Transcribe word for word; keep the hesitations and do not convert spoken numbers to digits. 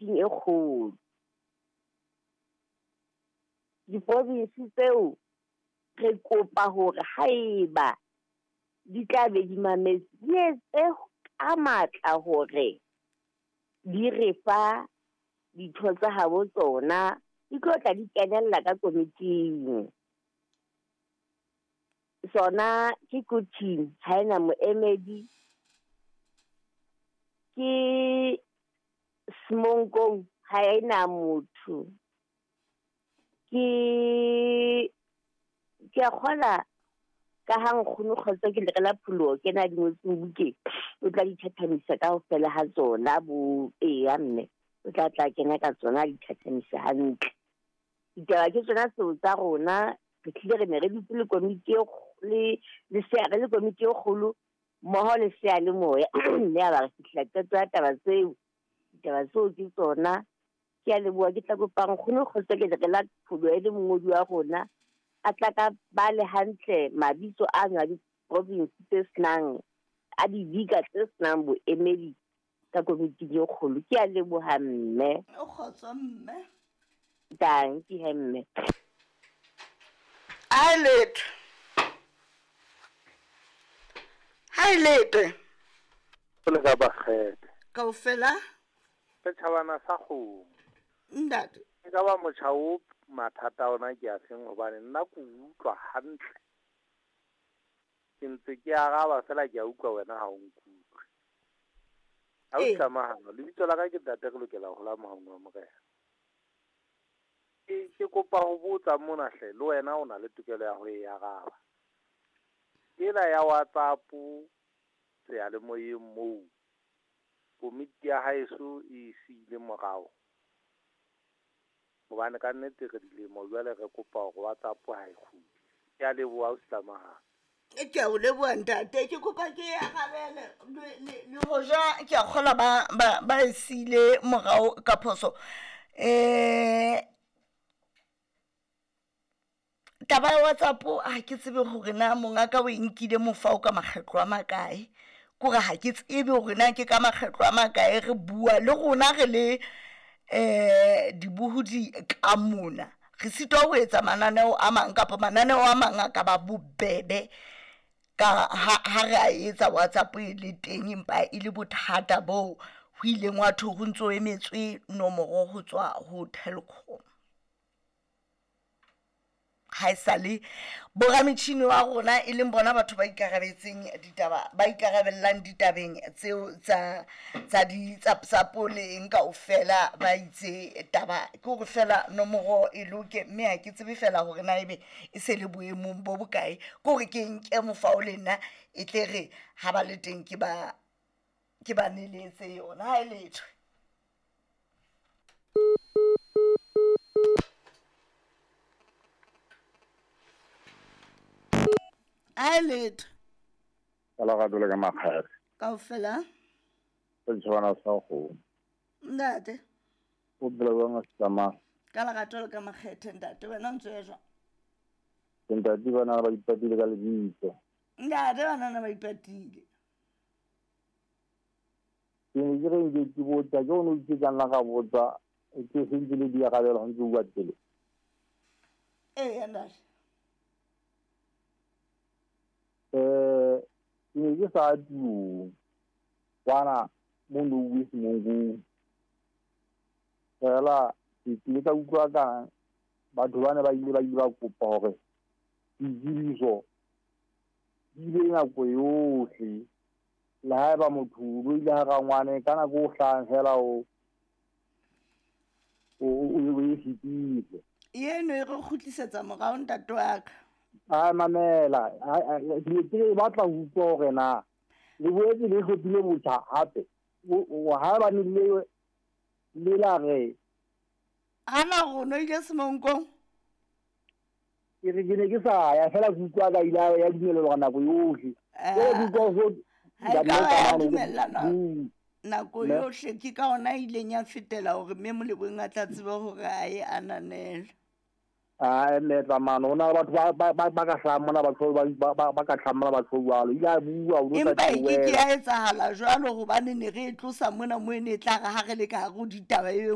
komiting e kgolo. Diprovinsi tseo re kopa hore haeba di tla be di mametse, di etse ka matla hore di re fa ditho tsa habo tsona, di tlo tla di kenella ka komiting. Sona ke Quthing ha ena moemedi, ke Semonkong ha ena motho, ke ke a kgola ka ha nkgono Kgotso ke lere la pholoho ke na di ngotseng bukeng, o tla di thathamisa kaofela ha tsona bo eya mme o tla tla kena ka tsona di thathamisa hantle. Ditaba ke tsona tseo tsa rona, re tlile re ne re dutse le komiti e le le sea re le komiti e kgolo mmoho le seyalemoya mme ya ba re fihlela qeto ya taba tseo. Ditaba tseo ke tsona. Ke a leboha, ke tla kopa nkgono Kgotso ke lere la pholoho e le mongodi wa rona a tla ka ba le hantle mabitso ano a diprovinsi tse senang a dibika tse senang boemedi ka komiting e kgolo. Ke a leboha mme. O kgotso mme. Dankie he mme. Ha e letho. Ha e letho. Le ka bakgethe. Kaofela? Setjhabana sa kgomo. Ntate. E ka ba motjha o mathata ona ke a feng hobane nna ke utlwa hantle. Ke ntse ke araba fela ke a utlwa wena ha o nkutlwe. Ha o tlamahano, lebitso la ka ke ntate re lokela ho la mohaung wa Morena. Ke ke kopa ho botsa mona hle, le wena o na le tokelo ya ho e araba. Ena ya WhatsApp seyalemoyeng moo komiti ya haeso e siile morao. Hobane ka nnete re dilemo jwale re kopa hore WhatsApp ha e kgutle. Ke a leboha o tlamahano. Ke a o leboha ntate, ke kopa ke arabele le hoja ke a kgola ba ba ba e siile morao ka phoso. Eh taba ya WhatsApp ha ke tsebe hore na mongaka o e nkile mofao ka makgetlo a makae. Kore ha ke tsebe hore na ke ka makgetlo a makae re bua le rona re le eh dibohodi ka mona. Re sitwa ho etsa mananeo a mang kapa mananeo a mang a ka ba bobebe ka ha ha re a etsa WhatsApp e le teng, empa e le bothata bo ho ileng wa thwe ho ntso emetswe nomoro ho tswa ho Telkom. Ha esale borametjhini wa rona e leng bona batho ba ikarabetseng ditaba, ba ikarabellang ditabeng tseo tsa tsa di tsa tsa le eng kaofela ba itse taba ke hore fela nomoro e loke, mme ha ke tsebe fela hore na ebe e se le boemong bo bokae. Ke hore ke nke mofao le nna e tle re ha ba le teng ke ba ke ba neletse yona. Ha e letho. Ha e letho. Ka lerato le ka makgethe. Kaofela? Setjhabana sa kgomo. Ntate. O phela jwang a tsamaya? Ka lerato le ka makgethe ntate, wena o ntso ya jwang? Ntate bana ba ipatile ka lebitso. Ntate bana ba ipatile. Ke ne ke re nke ke botsa, ke ono ke ka nna ka botsa, ke sentse le di arabela ho ntse o bua pele. Ee ntate. Eh ke ne ke sa tirong kwana mo no Semonkong. Fela ke tlile ka utlwa ka batho bana ba ile ba ile ba kopa hore ditsebiso di be nako yohle. Le haeba motho o ile ha rangwane ka nako o hlahang fela o o o e fetile. Eno e re kgutlisetsa morao ntate wa ka. A mamela, ke ke batla ho utlwa hore na le boetse le hlophile botjha hape. Ha ba ne le le la re hana rona ile Semonkong. Ke re ke ne ke sa ya fela ke utlwa ka ile ya dumellwa nako yohle. Ke utlwa ho Ha e dumellana nako yohle, ke ka ona ileng ya fetela hore mme Moleboheng a tla tsebe hore a e ananele. Ah mme tsamano hona batho ba ba ba ka hlahang mona batho ba ba ba ka hlahang mona batho jwalo. Ile a bua o sa Empa e ke ke ya etsahala jwalo hobane ne re e tlosa mona mo e ne e tla re ha re le ka hare ho ditaba e